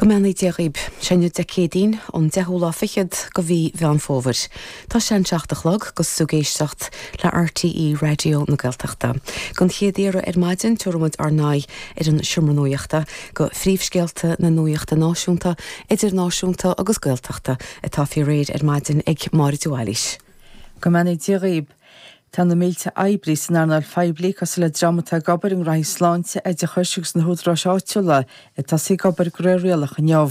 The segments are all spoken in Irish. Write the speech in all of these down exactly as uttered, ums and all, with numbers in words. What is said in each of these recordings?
Go mbeannaí Dia dhaoib, sé inniu Dé Céadaoin, an deichiú lá fichead de mhí Mheán Fómhair. Tá sé an seacht a chlog agus tú ag éisteacht le RTÉ Raidió na Gaeltachta. Don chéad iarraidh ar maidin tabharfaidh muid ár n-aghaidh ar an seomra nuachta go phríomhscéalta na nuachta náisiúnta, idirnáisiúnta agus Gaeltachta atá faoi réir ar maidin ag Máire de Bhailís. Go mbeannaí Dia dhaoib. Tá na mílte oibrí san earnáil phoiblí cosúil le dream atá ag obair i ngnóthaí sláinte, oideachais agus na húdaráis áitiúla ag tosaí ag obair de réir rialach inniu.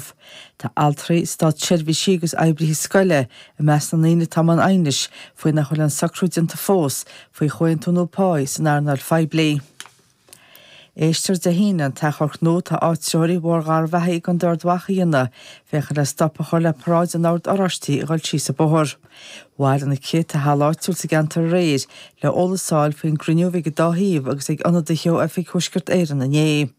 Tá altraí, státseirbhísigh agus oibrithe scoile i measc na ndaoine atá i mbun aighnis faoi nach bhfuil aon socrú déanta fós faoi chomhaontú nua páí san earnáil phoiblí. Éistfear Dé hAoine an t-achomharc nua atá áitritheoirí Bhóthar Gharbhachaidh i gContae Ard Mhacha a dhéanamh féachaint le stop a chur le paráid an Oird Oráistigh a dhul síos an bóthar. Bhailigh na céadta thall áitiúil sa gceantar aréir le eolas a fháil faoin gcruinniú a bhí ag an dá thaobh agus ag ionadaithe ó Oifig Thuaisceart Éireann inné.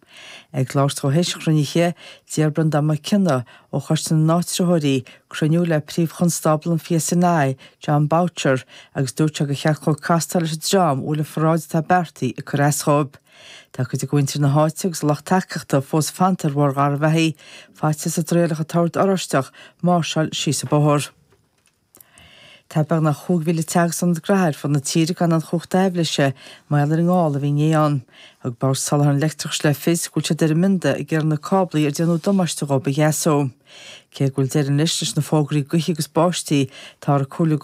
Ag labhairt dó théis an chruinnithe, d'iarr Breandán Mac Cionnaith ó Choiste na nÁitritheoirí cruinniú le Príomh-Chonstábla an PSNI, Jon Boutcher, agus dúirt sé gur cheart dhó castáil leis an dream a bhfuil an pharáid atá beartaithe ag cur as dhóibh. Tá cuid de mhuintir na háite agus a lucht tacaíochta fós fanta ar Bhóthar Gharbhachaidh, faitíos a dtriailfeadh an tOrd Oráisteach máirseáil síos an bóthar. Tá beagnach chúig mhíle teach agus ionad gnaithe ar fud na tíre gan aon chumhacht aibhléise mar gheall ar an ngála a bhí inné ann. Thug Bord Soláthair an Leictreachais le fios go bhfuil siad ar a mbionda ag iarraidh na cáblaí ar déanadh damáiste dhóibh a dheasú. Cé go bhfuil deireadh anois leis na fógraí gaoithe agus báistí, táthar ag comhairliú